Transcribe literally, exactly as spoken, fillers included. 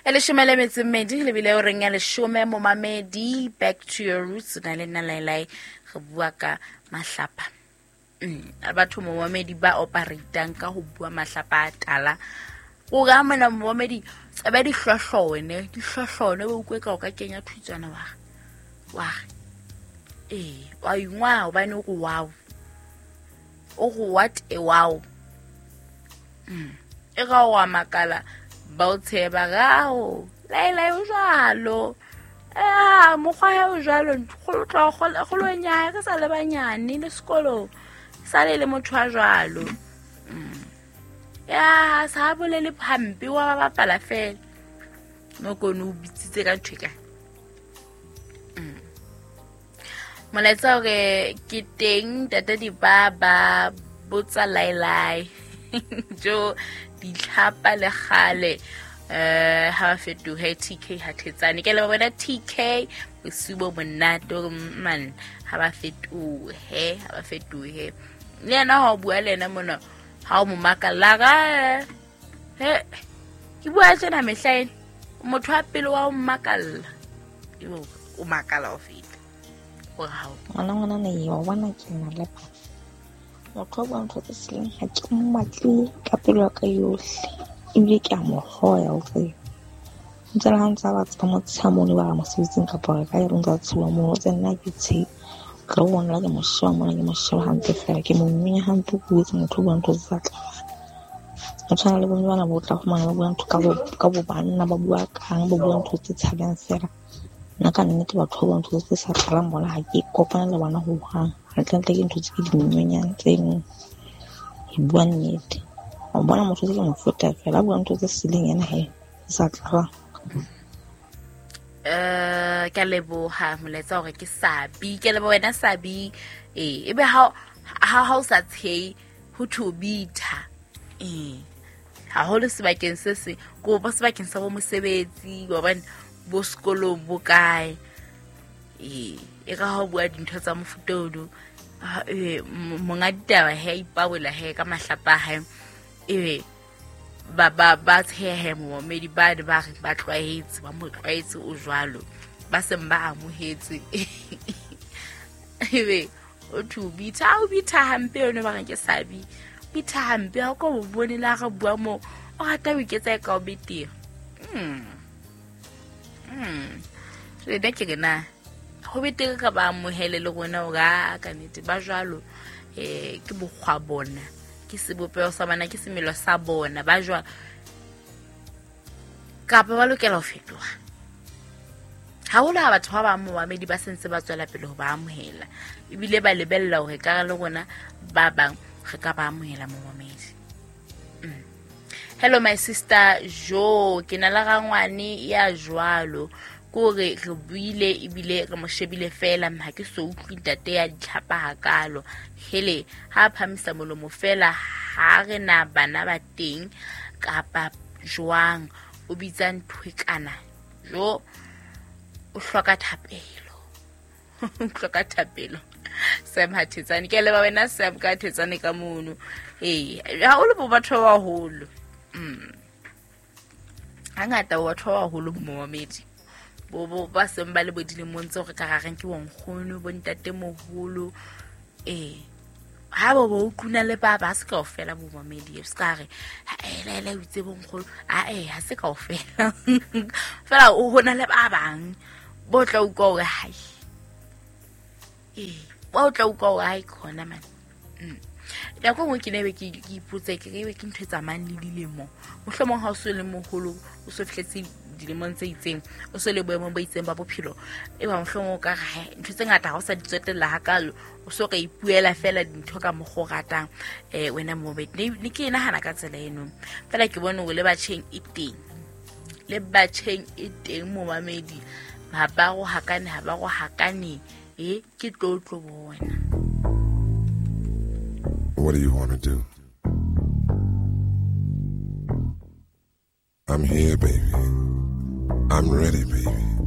E leshome le metso e mmedi lebile o reng ya leshome momamedi back to your roots na le nna Lailai re bua ka mahlapa. Mm batho momamedi ba operatang ka ho bua mahlapa a tala. O ga mona momamedi tsebe di hlohlone di hlohlone o ukwe ka o ka kenya thutswana wa wa eh wa ingwa hobane o go wow o go what a wow mm e ga wa makala ba o tsheba gao Lailai o jwalo eh mokgwa ya o jwalo go tla go lo nya re sa le banyane le sekolo sa le le motho a jwalo ya sa bolele hampe wa ba bapala fela no kone o bitsitse ka ntho ka molaetsa hore ke teng tata di ba ba botsa Lailai jo ditlhapa le kgale eh ha fetohe T K ha thetsane ke le bona T K bosibo monate man ha ba fetohe ha ba fetohe le yena ha o bua le yena mona ha o mo makalla ga he ke bua tsena mehlaena motho wa pele wa o makalla o makala o feta o ha ngwana ngwana ne wa bona ke na le motho wa bua ntho tse sileng ha ke mmatle ka pelo ya ka yohle ebile ke a mo hloya o tsebe ntse le ha ntse ba tswa mo tshamone ba mosebetsing kapa re ka e ntse tshuwa mo tse nna ke tshe re bona ke mo sheba mona ke mo sheba hantle fela ke mo mmenya hampe ke botse motho o bua ntho tse sa tlang o tshwana le bomme bana bo tla fumana ba bua ntho ka bo ka bo banna ba bua kang ba bua ntho tse tshabang fela nna ka nnete batho ba bua ntho tse sa tlalang bona ha ke kopana le bona ho hang hantlentle ke ntho tse ke di mmenyang tseno e bua nnete o bona motho tse ke mo feta fela bua ntho tse sileng yena he sa tlalang eh ke leboha molaetsa hore ke Sabi ke leboha wena Sabi eh ebe ha ha ha o sa tshei ho thobitha eh haholo sebakeng se se ko ba sebakeng sa bo mosebetsi wa bona bo sekolong bo kae eh e ka ha bua dintho tsa mofuta ono eh monga ditaba he ipabola he ka mahlapa hae ebe ba ba ba tshehe momedi ba ne ba re ba tlwaetse ba mo tlwaetse o jwalo ba seng ba amohetse ebe o thubitha o bitha hampe yone ba re ke Sabi bitha hampe ha ko bone la re bua mo o rata o iketsa ka o betere mm mm re da ke na ho betere ka ba amohele le rona o ga ka nnete ba jwalo eh ke bokgwa bona ke sebopeho sa bona ke semelo sa bona ba jwalo kapa ba lokela ho fetoha haholo ha batho ba bang momamedi ba sentse ba tswela pele ho ba amohela ebile ba lebella hore ka le rona ba bang re ka ba amohela momamedi. Mm. Hello my sister Jo ke na le rangwane ya jwalo kore re buile ebile re mo shebile fela ha ke so utlwe ntate ya ditlhapa hakalo hele ha phamisa molomo fela ha re na bana ba teng kapa jwang o bitsa nthwekana jo o hloka thapelo o hloka thapelo Sam Hathetsane ke leba wena Sam ka Thetsane ka mono eh haholo bo batho ba baholo mm hangata bo batho ba baholo momamedi bo bo ba seng ba le bo dilemong tse hore ka rareng ke bonkgono bo ntate moholo eh ha bo bo utluna le ba ba se kaofela bo mamedi se ka re eh la la itse bonkgono a eh ha se kaofela fela o hona le ba bang bo tla utlwa hore hai eh ba o tla utlwa hore hai khona man mm nako nngwe ke nebe ke ipotse ke re ke ntho e tsamayang le dilemo mohlomong ha o so le moholo o so fihletse dilemong tse itseng o so le boemong bo itseng ba bophelo e ba mohlomong o ka re ntho tse ngata ha o sa di tswetella hakalo o so ka ipuela fela dintho ka mokgwa o ratang eh wena mobedi ne ke nahana ka tsela eno fela ke bone hore le batjheng e teng le batjheng e teng momamedi ha ba go hakane ha ba go hakane e ke tlotlo bona. What do you want to do? I'm here, baby. I'm ready, baby.